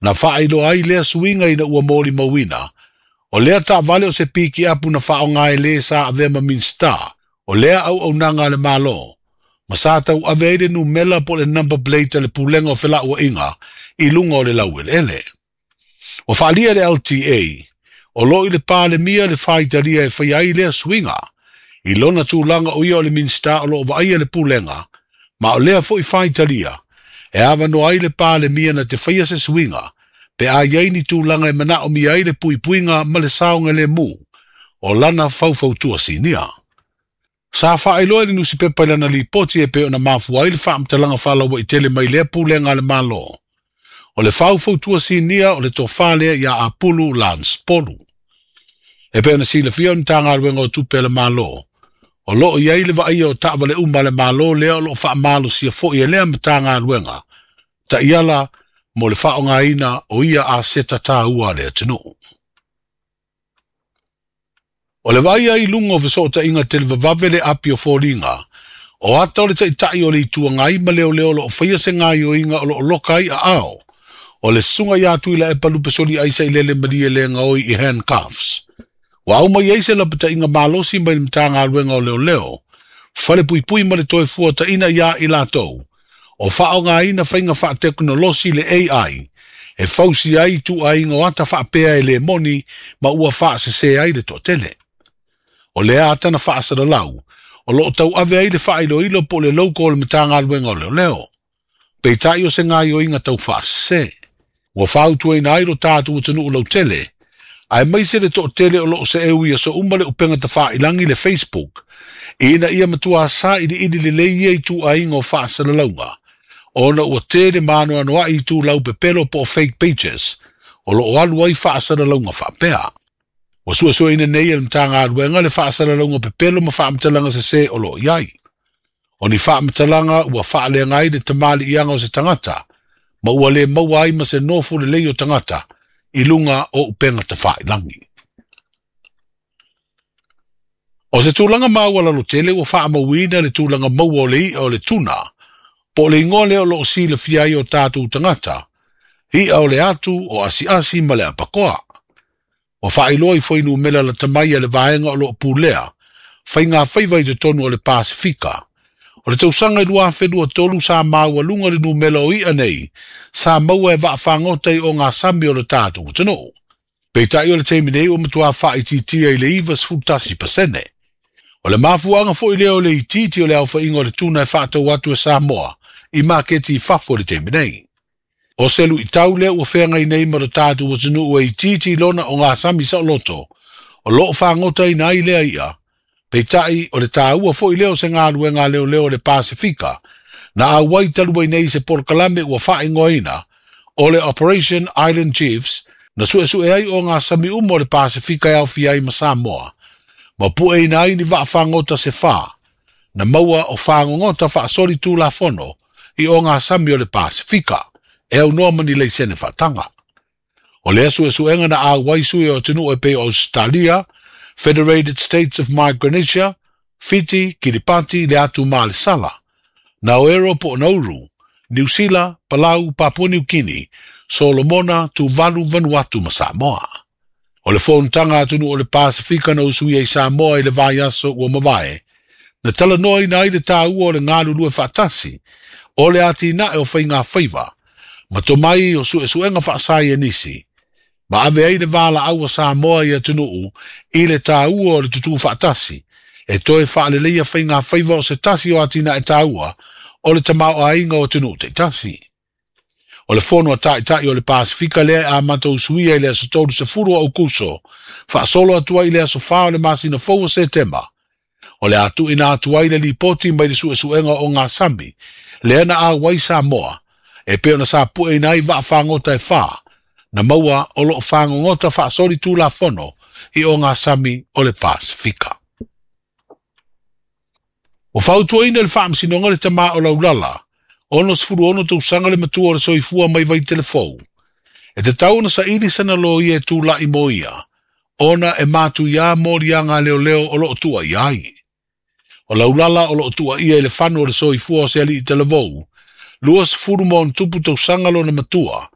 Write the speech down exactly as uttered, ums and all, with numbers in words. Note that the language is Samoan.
Na faailoa ai lea suiga ina ua molimauina, o lea taavale o se pikiapu na faaaoga e lē sa avea ma Minisita, o lea auaunaga a le Malo, ma sa tauave ai le numela po o le number plate a le Pulega o Felauaiga i luga o le laueleele. Ua faaalia e le L T A, o loo i le Palemia le faitalia e faia ai lea suiga, i lona tulaga o ia o le Minisita o loo vaaia le Pulega, ma o lea foi faitalia, e avanoa ai le Palemia na te faia se suiga, pe a iai ni tulaga e manaomia ai le puipuiga ma le saogalemu, o lana faufautua sinia. Sa faailoa e le nusipepa i lana lipoti e pei ona mafua ai le faamatalaga faalauaitele mai lea pulega a le Malo. O le faufautua sinia o le tofā lea ia Apulu Lance Polu. E pei ona silafia o le Matagaluega o Tupe a le Malo, o loo iai le vaaia o taavale uma a le Malo lea o loo faamalosia foi e lea Matagaluega, taiala mo le faaaogaina o ia aseta taua a le atunuu. O le vaaia i luga o fesootaiga televavave le api o foliga, o ata o le taitai o le itu agai ma leoleo o loo faia se gaioiga o loo loka ai aao, o le susuga ia Tuilaepa Lupesoli Aisa i lele malie le gaoi i handcuffs. Ua au mai ai se lapataiga malosi mai le Matagaluega o Leoleo, fale puipui ma le toe fuataina ia i latou, o faaaogaina faiga faatekonolosi le A I, e fausi ai tuaiga o ata faapea e le moni ma ua faasese ai le toatele. O lea ata na faasalalau, o loo tauave ai le faailoilo po o le logo o le Matagaluega o Leoleo. Peitai o se gaioiga tau faasese. Ua fautuaina ai lo tatou atunuu lautele, aemaise le toatele o loo seeu i aso uma le upega tafailangi le Facebook, ina ia matua sailiili lelei ia i tuaiga o faasalalauga, ona ua tele maanoanoai i tulau pepelo po o fake pages, o loo alu ai faasalalauga faapea. Ua suesueina nei e le Matagaluega le faasalalauga pepelo ma faamatalaga sese o loo iai. O ni faamatalaga ua faaleaga ai le tamaliiaga o se tagata, ma ua le maua ai ma se nofo lelei o tagata i luga o upega tafailangi. O se tulaga maualalo tele ua faamauina le tulaga maua o le i'a o le tuna, po o le igoa lea o loo silafia ai o tatou tagata, i'a o le atu, o asiasi ma le apakoa. Ua faailoa i fuainumera lata mai a le vaega o loo pulea, faiga faiva i totonu o le Pasifika. O le tausaga i lua afe lua tolu sa maualuga le numera o i'a nei, sa maua e vaafagota i o ngā sami o le tatou atunuu. Peitai o le taimi nei ua matua faaitiitia i le iva sefulu tasi pasene. O le mafuaaga foi lea o le itiiti o le aofaiga o le tuna e faatau atu e Samoa i maketi i fafo i le taimi nei. O se luitau lea ua feagai nei ma lo tatou atunuu e itiiti i lona o ngā sami saoloto, o loo fagotaina ai lea i'a. Peitai o le tāua foi lea o se galuega leoleo o le Pasifika, na auai talu ai nei se polokalame ua faaigoaina o le Operation Island Chiefs, na suesue ai o ngā sami uma o le Pasifika e aofia ai ma Samoa, ma pueina ai ni vaafagota se whā, na maua o whaangongota faasoli tulafono i o ngā sami o le Pasifika, e aunoa ma ni leisene faatanga. O lea suesuega na auai sui o atunuu e pei o Australia, Federated States of Micronesia, Fiti, Kiribati, le atu ma le Sala, Naoero po o Nauru, New Zealand, Palau, Papua New Guinea, Solomona, Tuvalu, Vanuatu ma Samoa. O le fonotaga atunuu o le Pasifika na usuia i Samoa i le vaiaso ua mavae, na talanoaina ai le tāua o le galulue faatasi, o le atinae o faiga faiva, ma tomai o suesuega faasaienisi, ma ave ai le valaau a Samoa i atunuu i le tāua o le tutū faatasi, e toe faaleleia faiga faiva o se tasi o atinae tāua o le tamaoaiga o atunuu taitasi. O le fono a taitai o le Pasifika lea e amata usuia i le aso tolu sefulu o Aukuso, faasolo atu ai i le aso whā o le masina fou o Setema. O le atuina atu ai le lipoti mai le suesuega o ngā sami, lea na auai Samoa, e pei ona sa pueina ai vaafagota e whā, na maua o loo whaangongota faasoli tulafono i o ngā sami o le Pasifika. Ua fautuaina le faamasinoga le tamā o Laulala, ono sefulu ono tausaga le matua o le soifua mai Vaitelefou. E tatau ona saili sana loia e tula'i mo ia, ona e matuiā moliaga leoleo o loo tuuaia ai. O Laulala o loo tuuaia i le fanu o le soifua o se alii talavou, lua sefulu ma ona tupu tausaga lona matua,